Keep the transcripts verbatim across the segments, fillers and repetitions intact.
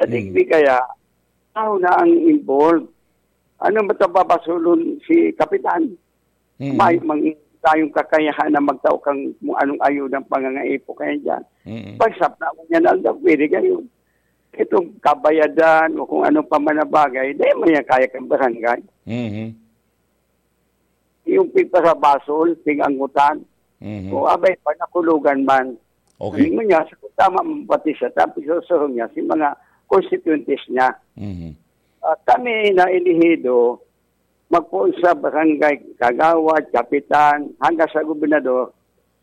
Digdi kaya, tao na ang involved. Ano ba ito babasulon si Kapitan? Mm. May mang tayong kakayahan na magtao kang kung anong ayuda ang pangangaipo kaya dyan. Mm. Pagsapna mo niya na aldaw, pwede kayo. Itong kabayadan o kung ano pa man na bagay, dahil mo niya kaya kang barangay. Mm. Yung pigpasabasol, pig-anggutan, Mm. o abay, panakulugan man. Okay. Ano mo niya, sa tama mo pati siya, tapos susurong niya, si mga constituentes niya. Mm. Ah, kami na elehido, magpoon sa barangay kagawad, kapitan, hanggang sa gobernador,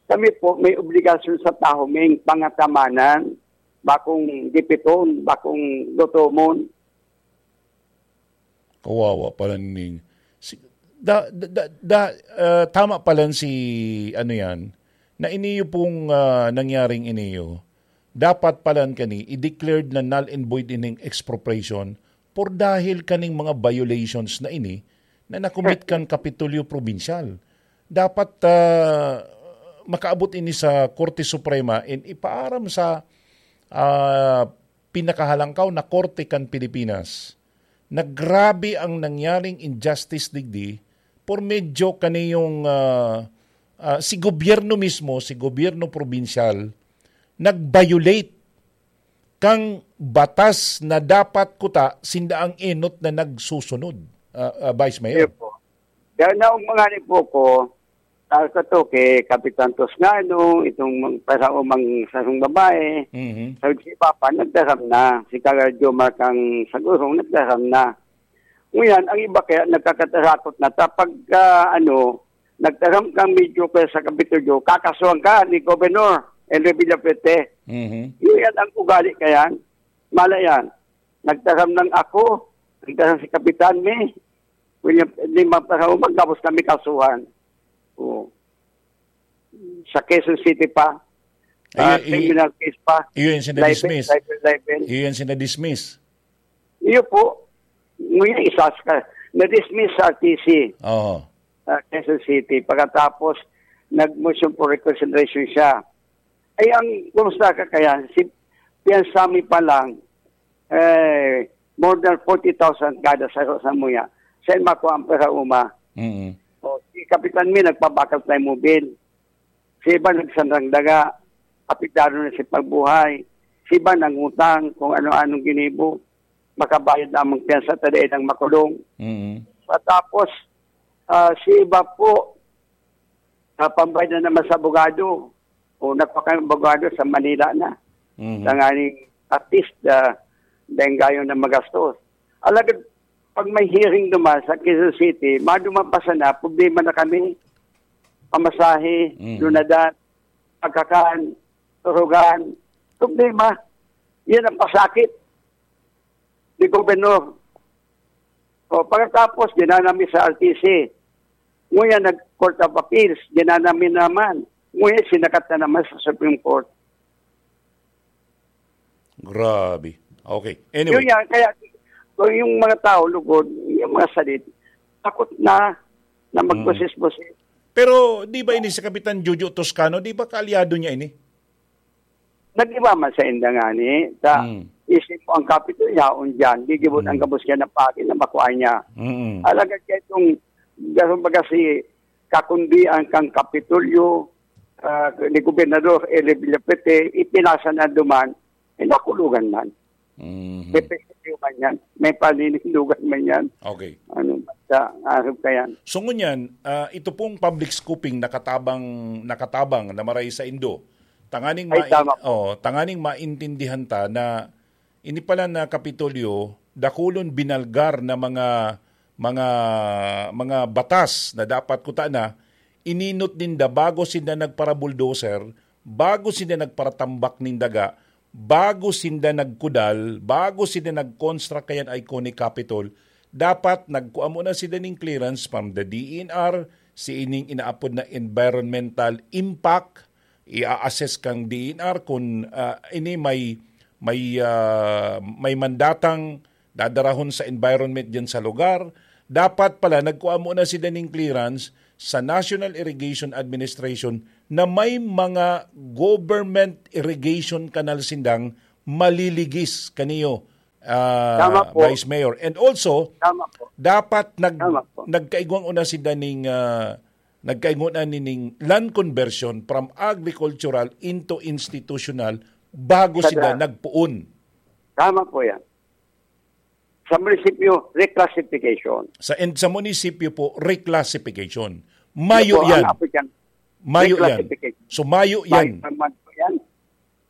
kami po may obligasyon sa tahuming pangatamanan, bakong gipiton, bakong lutomon. Kawawa pala ning si, da, da, da, da, ah, tama pala si, ano yan, na iniyo pong, ah, nangyaring iniyo, dapat pala kani i-declared na null and void ining expropriation por dahil kaning mga violations na ini na nakumit kan Kapitolyo Probinsyal. Dapat, ah, makaabot ini sa Korte Suprema and ipaaram sa, ah, pinakahalangkaw na korte kan Pilipinas na grabe ang nangyaring injustice digdi por medyo kaniyong, ah, ah, si gobyerno mismo, si gobyerno probinsyal, nag-violate kang batas na dapat kuta sinda ang enot na nagsusunod, ah, ah, Vice Mayor. Iyo po. Kaya naog mga ni po ko, ah, kato kay Kapitan Toscano, itong mang-, pasaomang sarong babae, Mhm. sa si Papa, nagdaram na. Si Karadyo Markang Sagurong, nagdaram na. Ngunyan, ang iba kaya nagkakatarakot na. Ta pagka, ano, nagtaram kang medyo kaya sa Kapitolyo, kakasuhan ka ni Governor Henry Villafuerte. Mhm. Yun yan ang ugali kaya. Mala yan. Nagtaram lang ako, nagtaram si Kapitan May, William, lima pa sa umag, tapos kami kasuhan. Oo. Sa Quezon City pa, Ayun, ah, i-, criminal case pa. Iyon yung Libel, sinadismiss. libel, libel. Iyon yung sinadismiss. Iyo po. Ngunyan, isa sa, na-dismiss sa R T C, Oo. ah, Quezon City. Pagkatapos, nag-motion for reconsideration siya. Ay, ang kumusta ka kaya? Si Piansami pa lang, eh, more than forty thousand kada sa, sa muya. Saan makuha ang pera uma? Mm. O, si Kapitan Mi, nagpabakal tayo mobil. Si iba nagsanrang daga, apektado na si pagbuhay. Si iba nangutang kung ano-anong ginibo, makabayad lamang piyansa, ta dai nang makulong. Mm. Patapos, ah, si iba po, ah, pambayad na naman sa abogado. O, nagpakay ang abogado sa Manila na. Mhm. Tanganing at least, ah, dahil gayon na magastos. Alagad, pag may hearing duman sa Quezon City, maduman pa sana, problema na kami. Pamasahe, Mhm. lunadan, pagkakan, turugan. Problema. Yan ang pasakit ni Gobernador. O, pagkatapos, dinala mi sa R T C. Ngunyan, nag-Court of Appeals, dinala mi naman. Ngunyan, sinakat na naman sa Supreme Court. Grabe. Okay. Anyway. Yun yan, kaya kung yung mga tao lugod, yung mga salit, takot na na Mm. magbusis-busis. Pero di ba ini si Kapitan Jojo Toscano, di ba kaalyado niya ini? Nag-iba man sa inda ngani, ta Mm. isip mo ang Kapitolyo yaon diyan, gigibon ang Mm. gabos niya na pati na makuha niya. Mm. Alagad kaya itong, kumbaga si kakundian kang Kapitolyo, ah, ni Gobernador Eli Villapete, ipinasa na duman, eh, nakulugan man. Mhm. May pagkatiyo man yan, may paninindugan man yan. Okay. Ano, basta, arog ka yan. So, ngunyan, ah, ito pong public scooping nakatabang, nakatabang na maray sa Indo. Tanganing Ay, mai-, tama po. oh, tanganing maintindihan ta na ini pala na Kapitolyo, dakulon binalgar na mga, mga, mga batas na dapat kuta na, ininot ninda bago sinda nagpara-bulldozer, bago sinda nagparatambak nin daga, bago sinda nagkudal, bago sinda nag-construct kayan iconic Capitol, dapat nagkua muna sinda ning clearance from the D E N R, si ining inaapod na environmental impact, i-a-assess kang D E N R kung, ah, ini may, may, ah, may mandatang dadarahon sa environment diyan sa lugar. Dapat pala nagkua muna sila ning clearance sa National Irrigation Administration na may mga government irrigation canal sindang maliligis kaniyo, ah, Tama po. Vice Mayor. And also, Tama po. dapat nag-, Tama po. nagkaigwang una sinda ning, ah, nagkaigwang na nining land conversion from agricultural into institutional bago Sa sila dra- nagpuon. Tama po yan. Sa munisipyo, reclassification. Sa, and sa munisipyo po, reclassification. Mayo Yan po, yan. ang African Mayo yan. reclassification. So, mayo Mayo yan. naman po yan.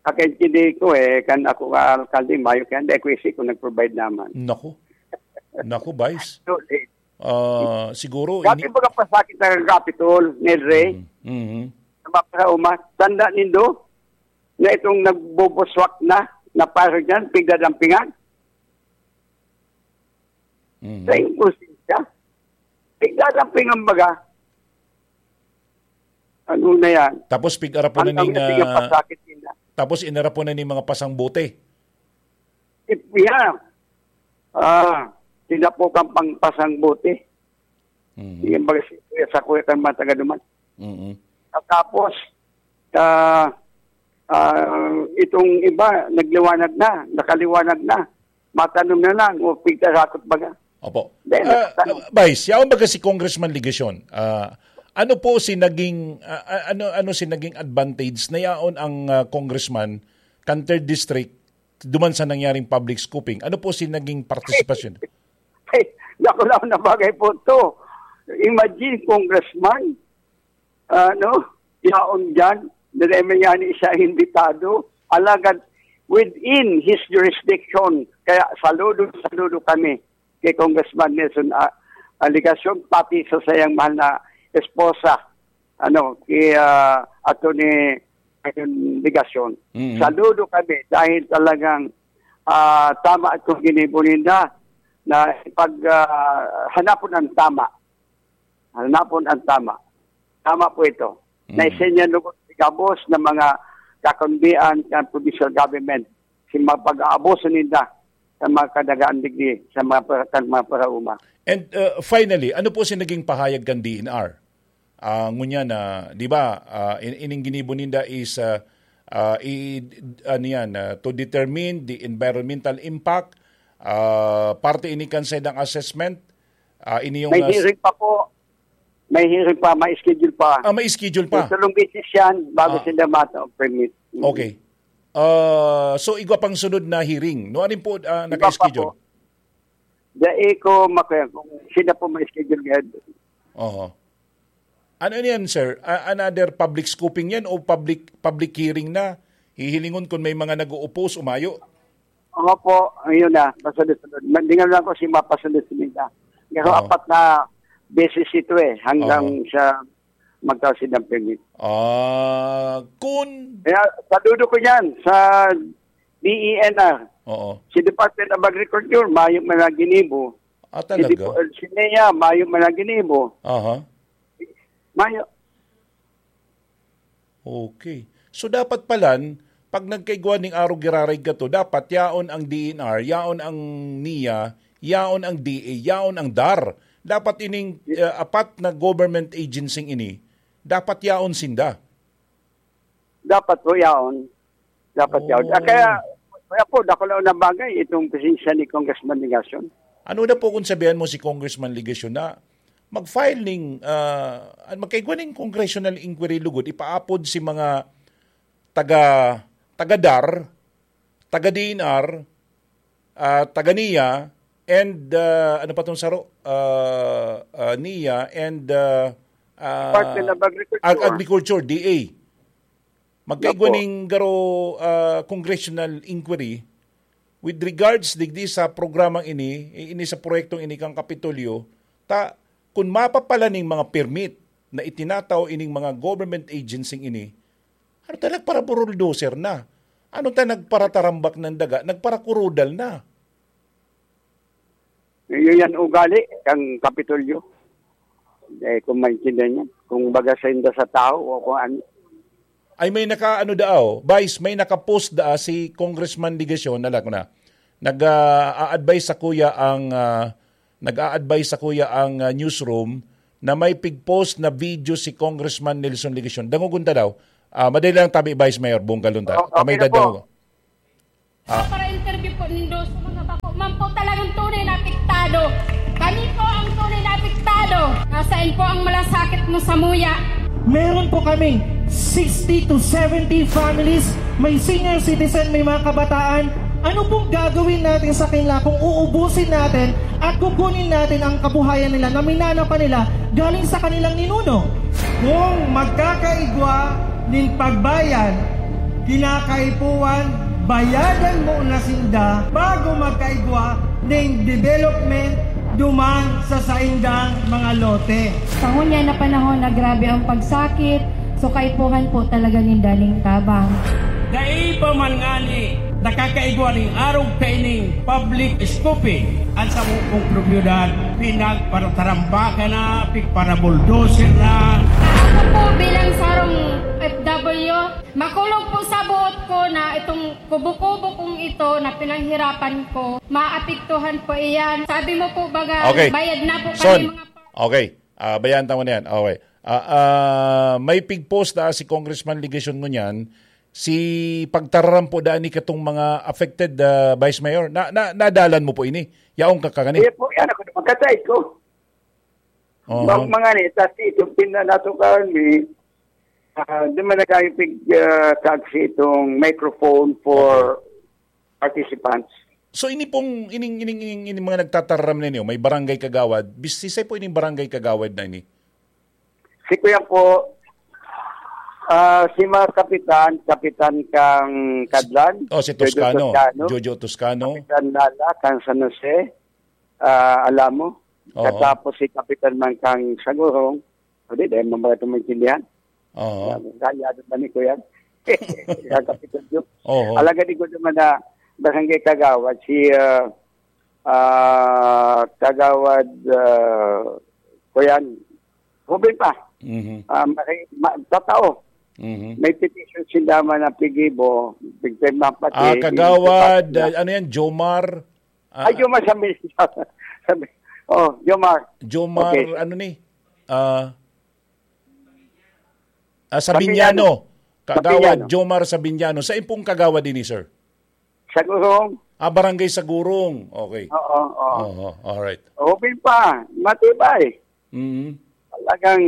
Kakaintindi ko eh, kan ako nga alkalde, mayo kaya hindi ko isip kung nag-provide naman. Naku. Naku, Vice. So, eh, Ah, siguro, Dati ini- mga pasakit na Capitol, Nedre, Mhm. Mhm. sa mga pasauma, tanda nindo na itong nagbubuswak na, na parang dyan, pigdadampingan. Mhm. Sa inkusensya. Pigdadampingan baga. Ano na yan? Tapos pig-arapo na Ang ning, dami na ah, pasakit nila. tapos inarapo na ning mga pasang bote. If, yeah. Ah, sila po kang pangpasang bote. Mhm. Yung mga si-, sa kuya kan mga taga duman. Mhm. At tapos, ah, ah, itong iba, nagliwanag na, nakaliwanag na. Matanom na lang, o pigkasakot baga. Opo. Then, Ah, nagtanom. Vice, yaon baga si Congressman Legacion? Ah, ano po si naging, ah, ah, ano, ano si naging advantage na yaon ang, ah, congressman kan third district duman sa nangyaring public scooping? Ano po si naging partisipasyon? Ay, dakulaw na bagay po to. Imagine, congressman, ano, yaon dyan, dahil may nga ni siya imbitado, alagad within his jurisdiction. Kaya saludo, saludo kami kay Congressman Nelson, ah, Legacion, pati sa sayang mahal na esposa, ano, kay, ah, Attorney Legacion. Mm. Saludo kami dahil talagang, ah, tama itong ginibo ninda na pag, ah, hanapon ang tama. Hanapon ang tama. Tama po ito. Mm. Na isin yan lugod gabos ng mga kakundian kan provincial government. Si mga pag-aabuso ninda sa mga kadagaan digdi, sa mga para-, kan mga parauma. And, uh, finally, ano po si naging pahayag kan D N R? Ah, ngunyan na, di ba, ah, in-, ining ginibo ninda is, ah, ah, i-, ano yan, ah, to determine the environmental impact, ah, parte ini kan saindang assessment, ah, ini yung, May ah, s- hearing pa po. May hearing pa, may schedule pa. Ah, may schedule pa. May tulong beses yan bago Ah. sila mata-, permit. Mm. Okay. Ah, so, igwa pang sunod na hearing. No, ano po, ah, Iba pa naka-schedule? po. Dai ko makaya kung sila po may schedule ngayon. Oho. Ano yan, sir? A-, another public scooping yan o public, public hearing na? Hihilingon kung may mga nag-uupos, umayo? Opo, ayun na, pasunod-sunod. Mandingan lang ko si mapasunod-sunod na. Pero Oo. apat na beses ito eh, hanggang Oo. sa magkasin ng permit. Ah, kun- Kaya saludo ko yan sa D E N R. Oo. Si Department of Agriculture, mayo man ang ginibo. Ah, Si talaga? Depo-, si NEA, mayo man ang ginibo. Aha. Mayo. Okay. So, dapat palan, pag nagkaigwa ning arog giraray gato, dapat yaon ang D N R, yaon ang NEA, yaon ang D A, yaon ang DAR. Dapat ining, eh, apat na government agency ini, dapat yaon sinda. Dapat po yaon. Dapat yaon. Ah, Oh. kaya, kaya po, dakula na bagay itong presensya ni Congressman Legacion. Ano na po kung sabihan mo si Congressman Legacion na mag-file ning, ah, an-, magkaigwa ning congressional inquiry lugod, ipaapod si mga taga, taga DAR, taga DENR, ah, taga NIA, and, ah, ano pa tong saro? Ah, ah, NIA and, ah, ah, Department of Agriculture. Ag-, Agriculture, D A. Magkaigwa Opo. ning garo, ah, congressional inquiry with regards digdi sa programang ini, i-, ini sa proyektong ini kang Kapitolyo, ta, kun mapapala ning mga permit na itinatao ining mga government agency ini, ano ta nagparaburuldoser na? Ano ta nagparatarambak ng daga? Nagparakurudal na? Yun yan ugali kang Kapitolyo. Eh, kung maintindihan niya, kung baga sa inda sa tao o kung ano. Ay, may naka-ano daaw, Vice, may naka-post daa si Congressman Legacion, nala ko na. Nag, ah, a-advise sa kuya ang, ah, nag-a-advise sa kuya ang, ah, newsroom na may pig-post na video si Congressman Nelson Legacion. Dangogon ta daw. Ah, madali lang tabi, Vice Mayor, bunggal unta. O-, okay Kamay na po. dadangog. Ah. Para interview po nindo sa mga bako Kami po ang tunay na apektado. Nasaan po ang malasakit mo sa muya? Meron po kaming sixty to seventy families, may senior citizen, may mga kabataan. Ano pong gagawin natin sa kanila kung uubusin natin at kukunin natin ang kabuhayan nila na minana pa nila galing sa kanilang ninuno? Kung magkakaigwa nin pagbayad, kinakaipuhan, bayadan mo na sinda bago magkaigwa nin development duman sa saindang mga lote. Sa ngunyan na panahon na grabe ang pagsakit, so kaipuhan po talaga ninda nin tabang. Dai pa man ngani nakakaigwa ning arog kaining public scooping. An samo kong propiedad, pinagparatarambakan na, pigparabulldozer na. Ako po bilang sarong F W, makulog po sa buot ko na itong kubo-kubo kong ito na pinaghirapan ko, maapektuhan po iyan. Sabi mo po baga, Okay. bayad na po Son, kami mga pa- okay. Ah, bayaan tamo na yan. Okay. Ah, ah, may pig-post na si Congressman Legacion ngunyan, si pagtararam po daan ni katong mga affected, ah, Vice Mayor. Na, na, nadalan mo po ini? Yaong ka kani? Iya po, yan ako, makatay ko. Oho. Bang mga ni, tas ito, pinanatukan ni, ah, di man na kayo pig, ah, taxi itong microphone for Okay. participants. So, ini pong, ining, ining, ining, ining mga nagtataram na niyo, may barangay kagawad, bis-, sisay po ining barangay kagawad na ini? Si Kuya po, ah, si mga kapitan, kapitan kang Kadlan, Oh, si Jojo Toscano. Toscano. Jojo Toscano. Kapitan Lala, kang San Jose, ah, Alamo. Oo. Katapos si Kapitan man kang Sagurong. O di, dahil mamaya ito maintindihan. Oo. Kaya, kaya doon ba ni Kuya? Kaya Kapitan Joe. Oo. Alagad ko naman na barangay kagawad, si, ah, ah, kagawad, ah, Kuya, Ruben pa. Mhm. Ah, maki-, ma-, tatao. Mhm. May petition si Dama na pigibo, pigpirma pati, Ah, kagawad, pigpirma. ah, ano yan, Jomar? Ah, Ay, Jomar, sabi, sabi, oh, Jomar. Jomar, Okay. ano ni? Ah, ah, Sabiniano. Sabiniano. Kagawad Sabiniano. Jomar Sabiniano. Sa impong kagawad ini, sir? Sagurong. Ah, Barangay Sagurong. Okay. Oo, oo. Oo, alright. Okay pa, matibay. Mm. Talagang,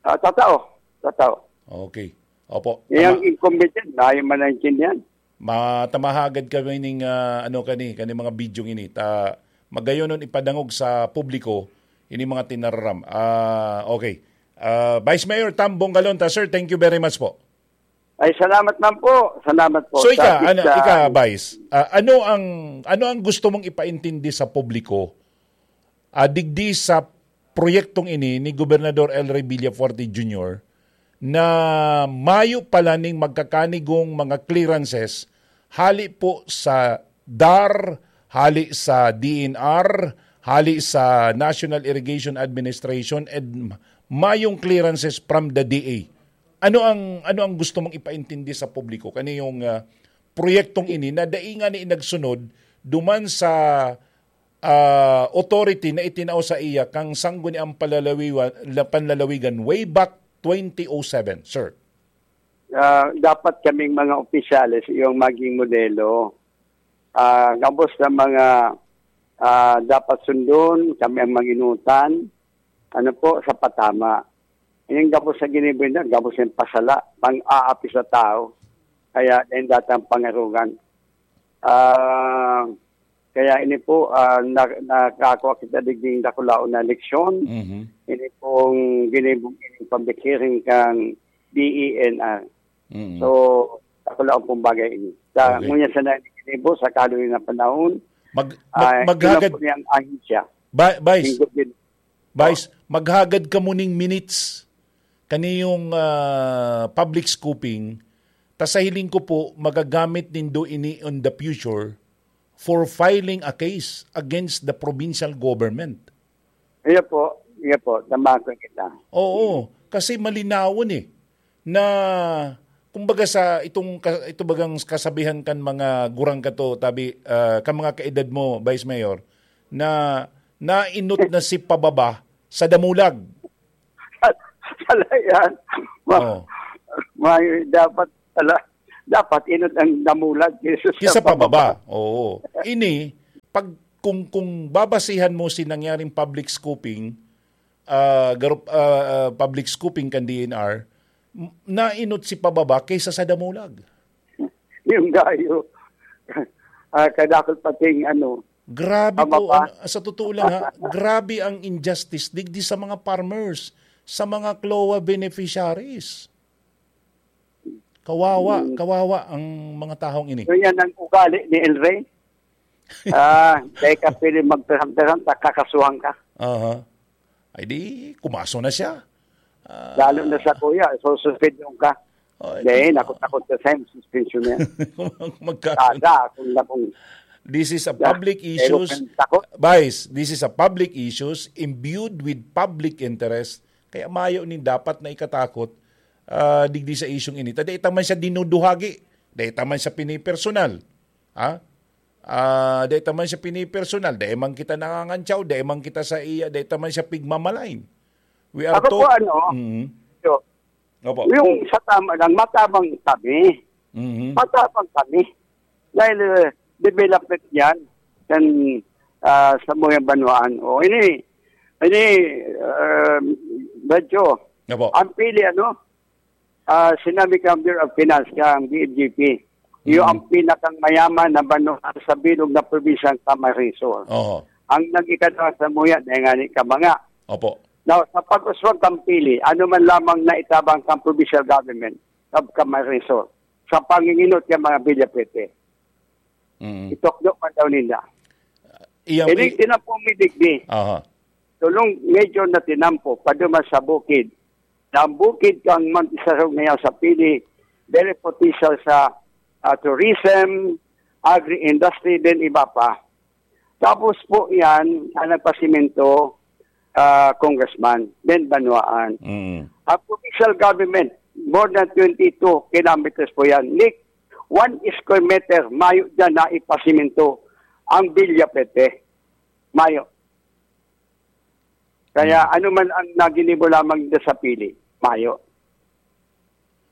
ah, tatao. Tatao. Okay. Opo. Yung Tama. incumbent yan, ayaw man naintindihan. Matamahagad kami ning, ah, ano, kani, kani mga video ini. Ta, magayonon ipadangog sa publiko ini mga tinararam. Ah, okay. Ah, Vice Mayor Tam Bongalonta, sir, thank you very much po. Ay, salamat man po. Salamat po. So, ika, Sa ano, pizza. ika, Vice, ah, ano ang, ano ang gusto mong ipaintindi sa publiko, ah, digdi sa proyektong ini ni Gobernador El Rey Villafuerte Junior na mayo pala ning magkakanigong mga clearances hali po sa dar, hali sa D N R, hali sa National Irrigation Administration, and mayong clearances from the D A. Ano ang, ano ang gusto mong ipaintindi sa publiko? Kani yung, ah, proyektong ini na dai ngani nagsunod duman sa, ah, authority na itinao sa iya kang Sangguniang Palalawiwa-, la-, Panlalawigan way back twenty oh seven, sir? Ah, dapat kaming mga opisyales yung maging modelo. Ah, gabos na mga, ah, dapat sundon, kami ang manginutan, ano po, sa patama. Yung gabos sa ginibo na, gabos yung pasala, pang-aapi sa tao. Kaya, yung datang pangarugan. Ah, kaya ini po, ah, na, nakakuha kita digding dakulaon na leksyon. Mhm. Ini pong ginibong ini public hearing kang D E N R. Mhm. So, dakulaon pong bagay ini. Sa Okay. ngunyan sa na ginibo, sa kaluwi na panahon, Mag-, mag-, ah, maghagad, yun ang po niyang ahensya. Ba-, Vice, Yung gobyerno. Vice, maghagad ka muning minutes. Kani yung, ah, public scooping, ta sa hiling ko po, magagamit nindo ini on the future for filing a case against the provincial government. Iya po, iya po, tama ko kita. Oo, kasi malinawon eh, na kumbaga sa itong ka-, ito bagang kasabihan kan mga gurang kato, tabi, ah, kan mga kaedad mo, Vice Mayor, na nainot na si pababa sa damulag. Pala yan. Ma-, Oo. may dapat pala, dapat inot ang damulag kaysa sa Kisa pababa. pababa. Oo. Ini, pag kung, kung babasihan mo si nangyaring public scooping, ah, garup-, ah, ah, public scooping kan D E N R, m-, nainot si pababa kaysa sa Damulag. Yung gayo. Ah, kadakot pating ano, Grabe ang po, mapa- ang, sa totoo lang ha, grabe ang injustice digdi sa mga farmers, sa mga CLOA beneficiaries. Kawawa, Hmm. kawawa ang mga taong ini. So yan ang ugali ni El Rey. Ah, dahil ka pwede magpirang-pirang, kakasuhan ka. Aha. Ay di, kumaso na siya. Ah. Lalo na sa kuya, sususpendon ka. Oh, Hindi, ito. Nakot-nakot ka sa suspension na yan. Magkaroon. Kada, kung na kung This is a Yeah, public pero issues. kung takot. Vice, this is a public issues imbued with public interest. Kaya mayo nin dapat na ikatakot, ah, digdi sa isyung ini. Ta dai ta man siya dinuduhagi. Dai ta man siya pinipersonal. Ha? Ah, dai ta man siya pinipersonal. Dai man kita nangangantsaw. Dai man kita sa iya. Dai ta man siya pigmamalain. We are Ako po, tot-, ano, Mm. so, Opo. yung sa tama lang, matabang kami. Mhm. Matabang kami. Dahil, eh, development yan. Yan, ah, sa mga banwaan. O, ini, ini, ah, medyo, Opo. ang pili, ano, ah, sinabi kang Bureau of Finance, kang B F G P, yung Mm. ang pinakang mayaman na banwaan sa bilog na probinsya ng Camarines Sur. Oho. Ang nag-ikadwa sa muya, dahil nga ni Kabanga. Opo. Now, sa pag-uswag kang pili, ano man lamang na itabang kang provincial government of Camarines Sur, sa panginginot ng mga Villafete, Mm. itukdo man daw nila. Iyang Ini i- tinapong midigdi. Aha. Tulong medyo na tinampo, paduman sa bukid. Na ang bukid kang mag-isarog ngayon sa pili, very potential sa, ah, tourism, agri-industry, din iba pa. Tapos po yan, ang nagpasimento, ah, Congressman, then Banwaan. Mm. Ang provincial government, more than twenty-two kilometers po yan. Nick, one square meter, mayo dyan na ipasimento ang Villafete. Mayo. Kaya Mm. ano man ang naginibo lamang dyan sa pili, mayo.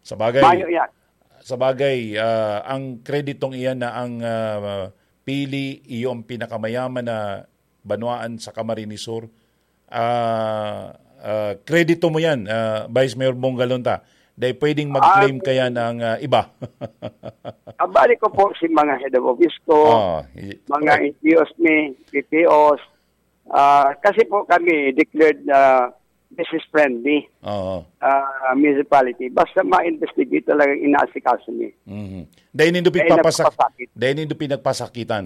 Sa bagay, Mayo yan. sa bagay, ah, ang kreditong iyan na ang, ah, pili, iyo ang pinakamayaman na banwaan sa Camarines Sur. Ah, ah, kredito mo yan, ah, Vice Mayor Bong Galonta. Dahil pwedeng mag-claim Ah, kaya ng, ah, iba. Kabali ko po si mga head of office ko, Ah, i-, mga correct. N G Os ni, P P Os. Ah, kasi po kami declared na business friendly, Oo. ah, municipality. Basta ma-investigate talaga inaasikaso ni. Mhm. Dahil nindo Dahil pigpapasak-, nagpapasakit. dahil nindo pinagpasakitan.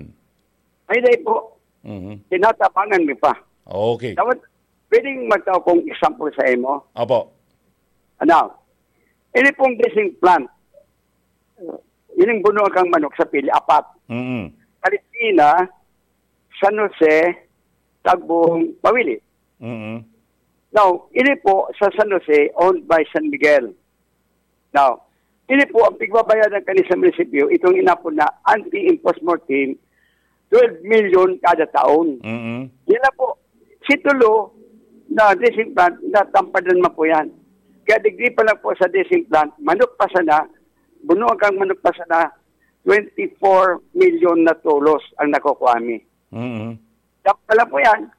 Ay, dahil po, Mhm. tinatapangan mi pa. Okay. Dapat, pwedeng magtao kong example sa imo. Opo. Ano? Ini pong dressing plant. Ini buno kang manok sa pili, apat. Mm. Palestina, San Jose, Tagbong, Pawili. Mm. Now, ini po sa San Jose, owned by San Miguel. Now, ini po ang pigbabayadan kani sa munisipyo, itong inapod na anti-impost mortem, twelve million kada taon. Mm. Yan lang po. Si Tulo na dressing plant, natampadan man po yan. Kaya digdi pa lang po sa dressing plant, manok pa sana, bunuan kang manok pa sana, twenty-four million na tulos ang nakukuha mi. Mm. Yan pa lang po yan.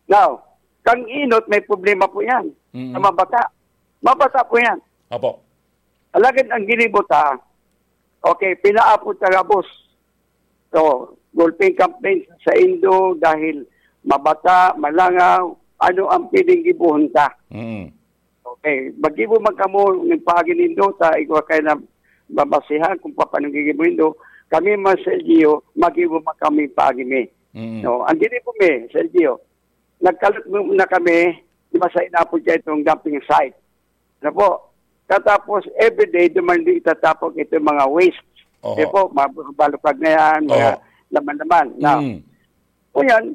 Now, kang inot, may problema po yan. Mm. Sa mabata. Mabata po yan. Apo. Alagad ang ginibo ta, okay, pinaapod ta gabos. So, gulping campaign sa indo dahil mabata, malangaw, ano ang pwedeng gibohon ta? Mm. Okay, maggibo man kamo ng paagi nindo, ta igwa kayo na babasihan kung paano gigibo nindo. Kami, mga sa L G U, maggibo man kami paagi mi. Mm. No, ang ginibo mi, sa L G U, nagkalot mo na kami, di ba, sa inapod siya itong dumping site. Ano po? Katapos, everyday, duman din itatapon itong mga waste. Oho. Di po, mga balukag na yan, mga Oho. laman-laman. Now, Mm. o yan,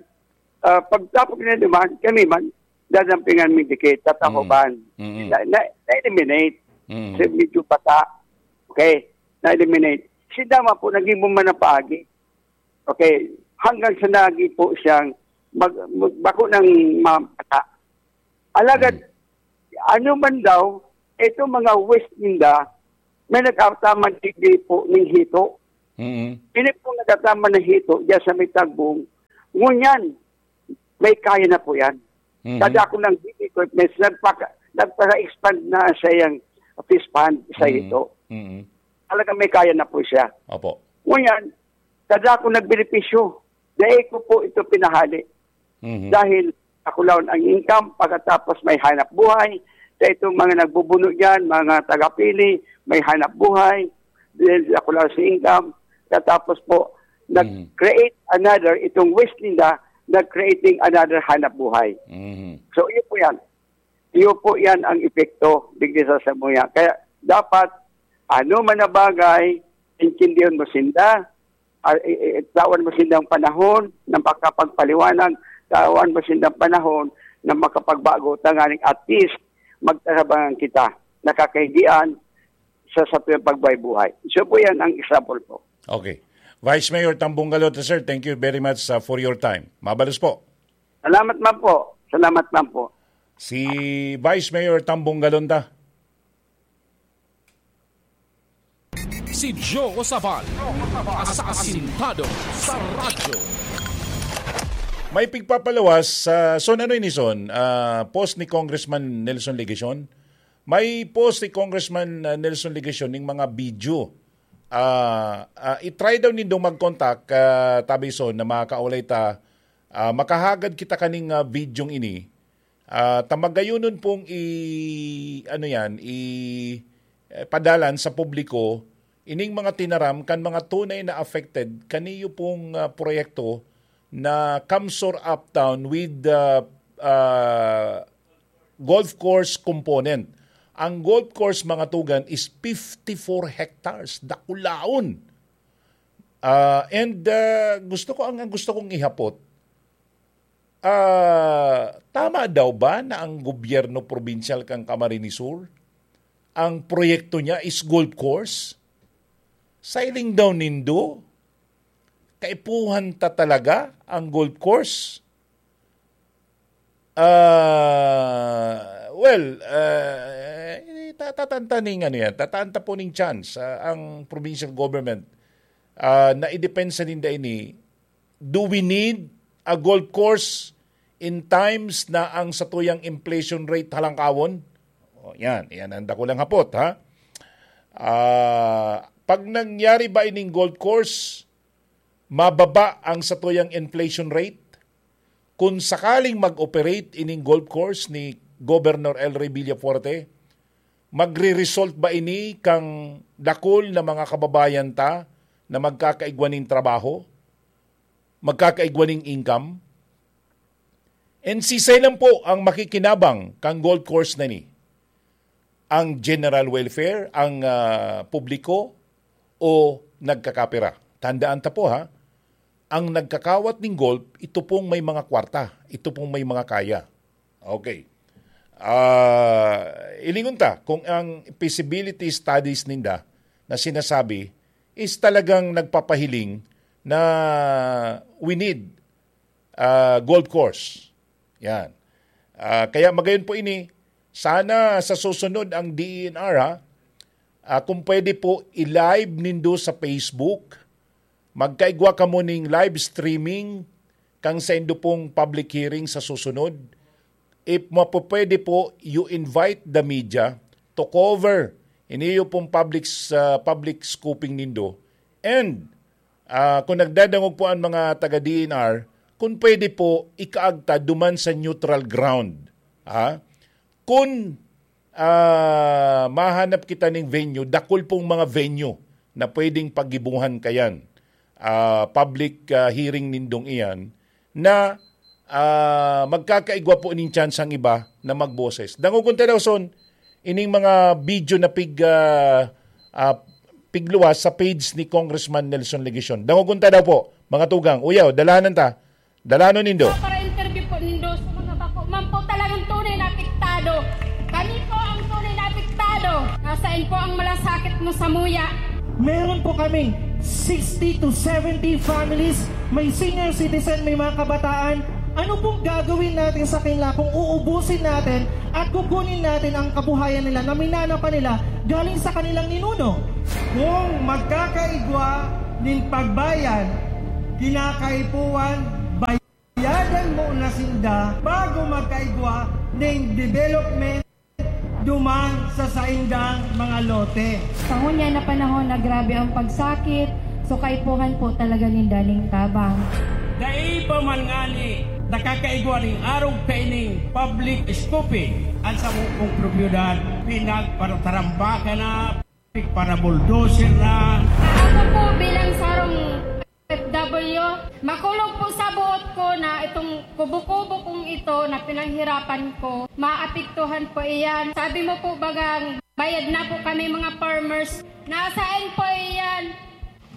ah, pagtapon na naman, kami man, dadampingan mi dikit, tatahoban. Mm. Mm. Na, na, na-eliminate. Mm. Kasi medyo bata. Okay, na-eliminate. Si Dama po, naging bumanapagi. Okay, hanggang sa naging po siyang mag, mag, bako ng mga bata. Alagad, Mm. ano man daw, itong mga waste ninda, may nagkataman digdi po ng hito. Mm. Ini po nagkataman ng hito, diyan sa may tagbong, Ngunyan, may kaya na po yan. Mhm. Kada ako ng equipments, nagpaka-, nagpaka-expand na sa iyang fish pond, sa Mhm. ito. Mhm. Talagang may kaya na po siya. Opo. Ngunyan, kada ako nagbenepisyo, dahil ko po ito pinahali. Mhm. Dahil ako lang ang income, pagkatapos may hanap buhay. Sa itong mga nagbubuno dyan, mga tagapili, may hanap buhay. Dahil ako lang sa income. Katapos po, Mhm. nag-create another, itong waste ninda, nag-creating another hanap buhay. Mhm. So, yun po yan. Iyo po yan ang epekto digdi sa samuya. Kaya dapat, ano man na bagay, intindihon mo sinda, ah, i-, i-, tawan mo sindang panahon na makapagpaliwanag, tawan mo sindang panahon na makapagbago, tanganing at least, magtarabangan kita, nakakahigian sa satuyang pagbuhay-buhay. So po yan ang example po. Okay. Vice Mayor Tambong Galota, sir, thank you very much, uh, for your time. Mabalos po. Salamat man po. Salamat man po. Si Vice Mayor Tambong Galonda. Si Joe Sabal, asasintado sa radyo. May pigpapalawas sa, Son, ano ini, Son? Ah, post ni Congressman Nelson Legacion? May post ni Congressman, ah, Nelson Legacion ning mga video. Ah, ah, i-try daw nindong mag-contact, ah, tabi, Son, na makakaulay ta, ah, makahagad kita kaning, ah, videong ini. Ah, ta magayonon pong i-, ano yan, i-, eh, padalan sa publiko ining mga tinaram kan mga tunay na affected kaniyo pong, ah, proyekto na CamSur Uptown with, ah, ah, golf course component. Ang golf course, mga tugang, is fifty-four hectares. Dakulaon. Ah, and, ah, gusto ko, ang, ang gusto kong ihapot, ah, tama daw ba na ang gobyerno probinsyal kan Camarines Sur, ang proyekto niya is golf course? Sa hiling daw nindo, kaipuhan ta talaga ang golf course? Ah, well, ah, ta-, tataan ta ning ano yan, tataan ta po ning chance, ah, ang provincial government, ah, na idepensa ninda ini. Do we need a golf course in times na ang satuyang inflation rate halangkawon? O, yan. Yan ang dakulang hapot, ha? Ah, pag nangyari ba ining golf course, mababa ang satuyang inflation rate? Kun sakaling mag-operate ining golf course ni Governor El Rey Villafuerte, magre-result ba ini kang dakul na mga kababayan ta na magkakaigwa nin trabaho? Magkakaigwa nin income? And sisay lang po ang makikinabang kang golf course na ini? Ang general welfare, ang, ah, publiko, o nagkakapera? Tandaan ta po, ha, ang nagkakawat ning golf, ito pong may mga kwarta, ito pong may mga kaya. Okay. Ah, ilingon ta kung ang feasibility studies ninda na sinasabi is talagang nagpapahiling na we need ah, golf course. Yan. Ah, kaya magayon po ini, sana sa susunod ang D E N R, ha, ah, kung pwede po, i-live nindo sa Facebook. Magkaigwa kamo ning live streaming kang saindo pong public hearing sa susunod. If mapupwede po, you invite the media to cover iniyo pong public s-, ah, public scooping nindo. And Ah, kung nagdadangog po ang mga taga D E N R, kung pwede po, ikaagta duman sa neutral ground. Ha? Kung, ah, mahanap kita ning venue, dakul pong mga venue na pwedeng paggibuhan kayan. Ah, public, ah, hearing nindong iyan na, ah, magkakaigwa po ning tsansa ang iba na magboses. Dangogon ta daw, Son, ining mga video na pig-, ah, ah, pigluwas sa page ni Congressman Nelson Legacion. Dangogon ta daw po, mga tugang. Uyaw, dalanan ta. Dalanon nindo. Para interview po nindo sa mga bako man po talagang tunay na apektado. Kami po ang tunay na apektado. Nasaan po ang malasakit mo sa muya? Meron po kaming sixty to seventy families, may senior citizen, may mga kabataan. Ano pong gagawin natin sa kanila kung uubusin natin at kukunin natin ang kabuhayan nila na minana pa nila galing sa kanilang ninuno? Kung magkakaigwa nin pagbayad, kinakaipuhan, bay- da bago magkaigwa ning development duman sa saindang mga lote. Sa ngunyan na panahon na grabe ang pagsakit, so kaipuhan po talaga ninda ning tabang. Dai pa man ngani nakakaigwa ning arog kaining public scooping, ang samong propiedad pinagparatarambakan na, para bulldozer na. Ako po bilang sarong O F W, makulog po sa buot ko na itong kubo-kubo kong ito na pinaghirapan ko, maapektuhan po iyan. Sabi mo po bagang bayad na po kami mga farmers. Nasaan po iyan?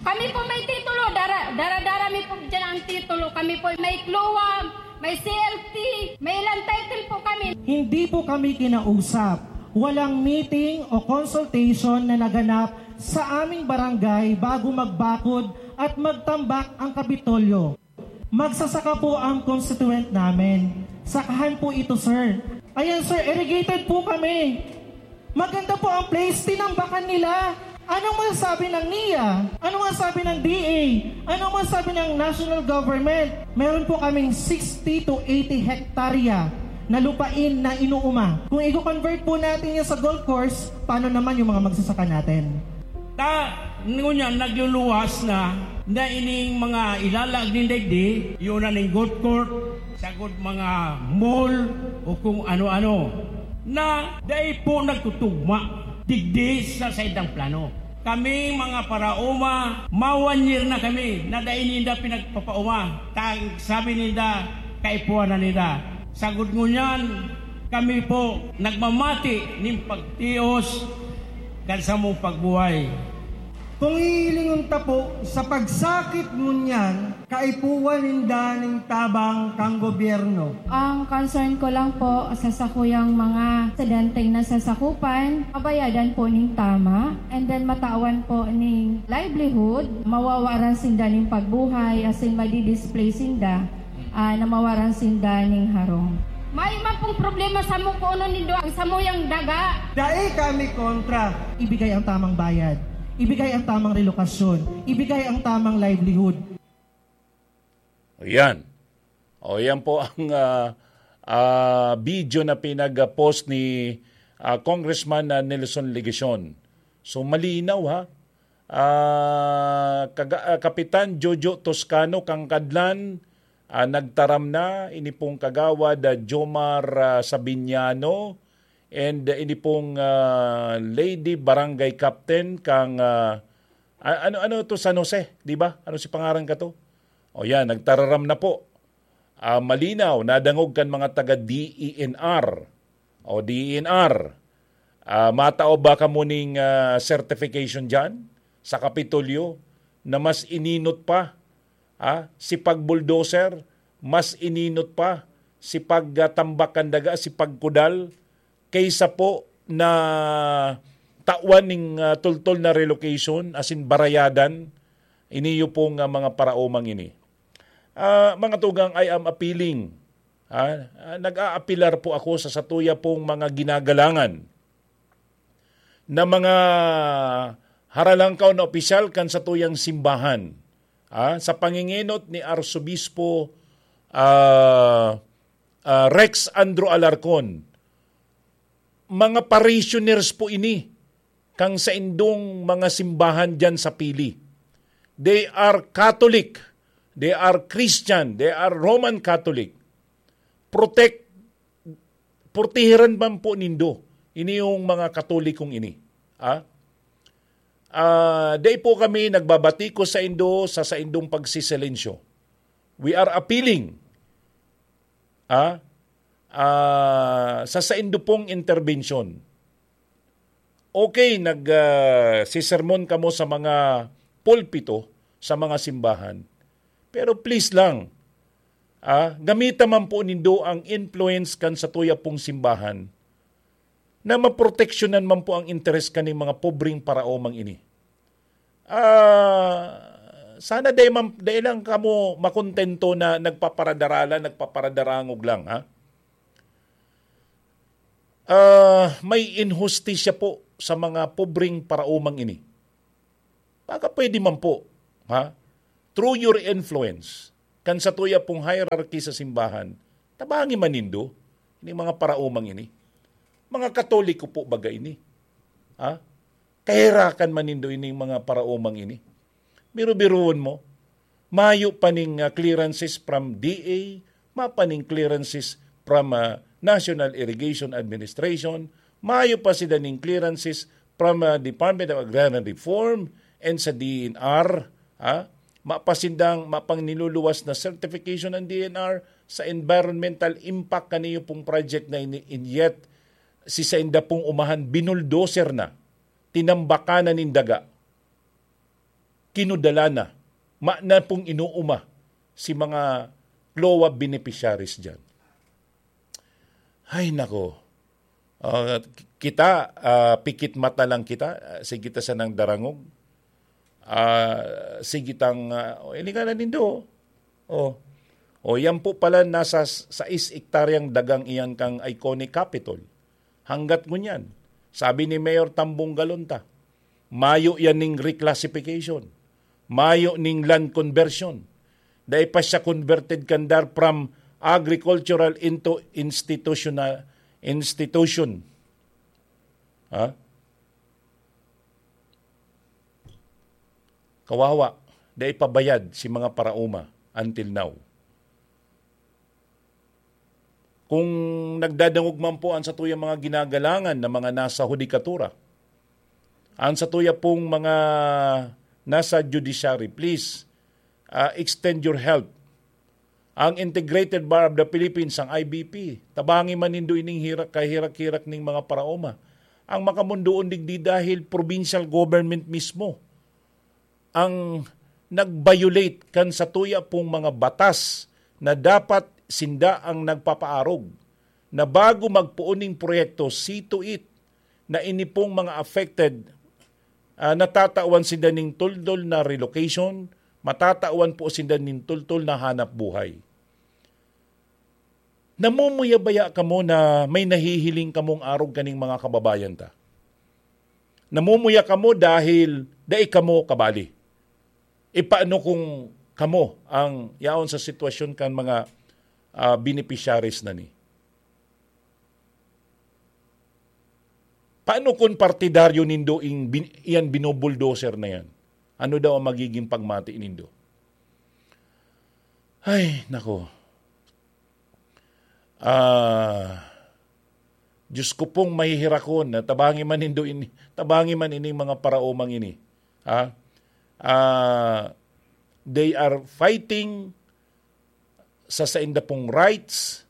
Kami po may titulo, dara, dara-dara mi po dyan ang titulo. Kami po may kluwang, may C L T, may ilang title po kami. Hindi po kami kinausap. Walang meeting o consultation na naganap sa aming barangay bago magbakod at magtambak ang Kapitolyo. Magsasaka po ang constituent namin. Sakahan po ito, sir. Ayan, sir, irrigated po kami. Maganda po ang place, tinambakan nila. Anong masasabi ng nia? Anong masasabi ng D A? Anong masasabi ng national government? Meron po kaming sixty to eighty hektarya na lupain na inuuma. Kung i-convert po natin yan sa golf course, paano naman yung mga magsasaka natin? Ta, ngunyan, nagluluwas na, na ining mga ilalag nin digdi, yun na ning golf court, sagod mga mall, o kung ano-ano, na dai po nagtutugma digdi sa saindang plano. Kaming mga paraoma, ma-one year na kami na dai ninda pinagpapaoma. Tang, sabi ninda, kaipuhan na ninda. Sagod ngunyan, kami po nagmamati nin pagtios kan samong pagbuhay. Kung hihilingon ta po sa pagsakit ngunyan, kaipuhan ninda ning tabang kan gobyerno. Ang concern ko lang po sa sakuyang mga estudyanteng nasasakupan, mabayadan po ning tama, and then matawan po ning livelihood, mawawaran sinda ning pagbuhay, asin madi-displace sinda, ah, na mawaran sinda ning harong. May man pong problema sa mukunon nindo ang samuyang daga. Dai kami kontra. Ibigay ang tamang bayad. Ibigay ang tamang relokasyon. Ibigay ang tamang livelihood. Ayan. O, yan po ang, ah, ah, video na pinag-post ni, ah, Congressman, ah, Nelson Legacion. So, malinaw, ha? Ah, kaga-, ah, Kapitan Jojo Toscano, Kangkadlan, ah, nagtaram na, ini pong Kagawad, ah, Jomar, ah, Sabiniano, and, ah, ini pong, ah, Lady Barangay Captain, kang, ah, a-, ano, ano to, San Jose, di ba? Ano si pangaran ka to? O yan, nagtararam na po. Ah, malinaw, nadangog kan mga taga D E N R. O D E N R, ah, matao ba kamo ning, ah, certification diyan sa Kapitolyo na mas ininot pa, ah, si pag-bulldozer, mas ininot pa si pag, ah, tambak kan daga, si pagkudal, kaysa po na tawan ning, ah, tultol na relocation, asin barayadan, iniyo pong, ah, mga paraomang ini. Ah, mga tugang, I am appealing, ah, ah, nag-aapilar po ako sa satuya pong mga ginagalangan na mga haralangkaw na opisyal kan satuyang simbahan, ah, sa pangingenot ni Arsobispo, ah, ah, Rex Andrew Alarcon. Mga parishioners po ini kang saindong mga simbahan diyan sa Pili. They are Catholic, they are Christian, they are Roman Catholic. Protect, protehiran man po nindo ini yung mga Katolikong ini. Ah? Ah, dai po kami nagbabatikos saindo sa saindong pagsisilensyo. We are appealing, ah, ah, sa saindo pong interbensyon. Okay, nag, ah, sisermon kamo sa mga pulpito, sa mga simbahan. Pero please lang, ah, gamita man po nindo ang influence kan satuya pong simbahan na maproteksyonan man po ang interes kaning mga pobreng paraomang ini. Ah, sana dai man, dai lang kamo makontento na nagpaparadaralan, nagpaparadarangog lang, ha? Ah, may inhustisya po sa mga pobreng paraomang ini. Baka pwede man po, ha? Through your influence, kan satuya pong hierarchy sa simbahan, Tabangi man nindo, ining mga paraomang ini. Mga Katoliko po baga ini. Ha? Kaherakan man nindo ining mga paraomang ini. Biro-biroon mo, mayo pa ning, ah, clearances from D A, mayo pa ning clearances from, ah, National Irrigation Administration, mayo pa sila ning clearances from, ah, Department of Agrarian Reform and sa D N R, ha? Mapasindang, mapang niluluwas na certification ng D N R sa environmental impact kaniyo pong project na ini, and yet, si sainda pong umahan, binuldoser na, tinambakan na nin daga, kinudala na, ma-, na pong inuuma si mga CLOA beneficiaries dyan. Ay, nako. Ah, kita, ah, pikit mata lang kita, ah, sige ta sanang darangog. Ah, sige tang, ah, oh, ini nga na nindo. Oh. Oh, yan po pala, nasa s-, sais hektaryang dagang iyan kan iconic Capitol. Hanggat ngunyan, sabi ni Mayor Tambong Galonta, mayo yan ning reclassification. Mayo ning land conversion. Dai pa siya converted kan DAR from agricultural into institutional institution. Ha? Kawawa, dai pa bayad si mga paraoma until now. Kung nagdadangog man po ang satuyang mga ginagalangan na mga nasa hudikatura, ang satuya pong mga nasa judiciary, please, ah, extend your help. Ang Integrated Bar of the Philippines, ang I B P, tabangi man nindo ining hirak, kahirak-hirak ning mga paraoma. Ang makamundoon digdi dahil provincial government mismo ang nag-violate kan satuya pong mga batas na dapat sinda ang nagpapaarog, na bago magpoon ning proyekto, see to it na ini pong mga affected, ah, natatawan sinda ning tuldol na relocation, matatawan po sinda ning tuldol na hanap buhay. Namumuya baya kamo na may nahihiling kamong arog kaning mga kababayan ta? Namumuya kamo dahil dai kamo kabali. E paano kung kamo ang yaon sa sitwasyon kan mga, ah, beneficiaries na ni? Paano kung partidaryo nindo ing bin-, iyan binubuldoser na yan? Ano daw ang magiging pagmati nindo? Ay, nako. Ah, Diyos ko pong mahihirakon, na tabangi man nindo ini, tabangi man ining mga paraomang ini. Ha? Ah, they are fighting sa sainda pong rights.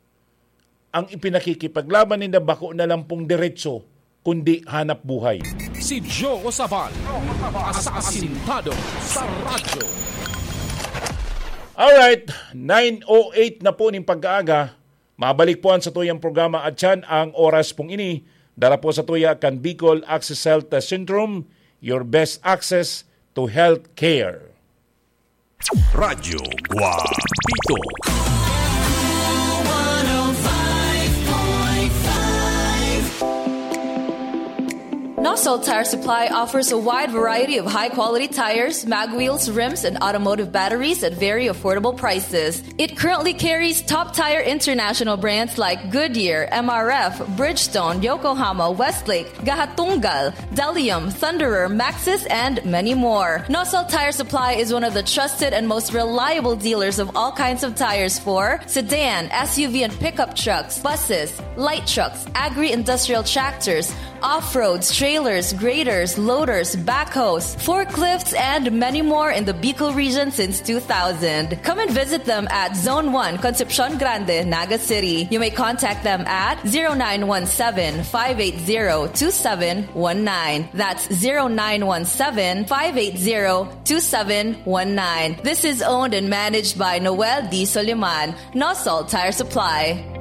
Ang ipinakikipaglaban ninda bako na lang pong diretso, kundi hanap buhay. Si Joe Sabal, asasintado sa radyo. Alright, nine oh eight na po ning pagkaaga. Mabalik po ang satuyang programa at yan ang oras pong ini. Dara po satuya kan Bicol Access Health Centrum, your best access to health care. Radyo Guapito. Nosol Tire Supply offers a wide variety of high-quality tires, mag wheels, rims, and automotive batteries at very affordable prices. It currently carries top tire international brands like Goodyear, M R F, Bridgestone, Yokohama, Westlake, Gahatunggal, Delium, Thunderer, Maxxis, and many more. Nosol Tire Supply is one of the trusted and most reliable dealers of all kinds of tires for sedan, S U V and pickup trucks, buses, light trucks, agri-industrial tractors, off-roads, trailers, graders, loaders, backhoes, forklifts, and many more in the Bicol region since two thousand. Come and visit them at Zone one, Concepcion Grande, Naga City. You may contact them at zero nine one seven, five eight zero, two seven one nine. That's zero nine one seven, five eight zero, two seven one nine. This is owned and managed by Noel D. Soliman, Nosol Tire Supply.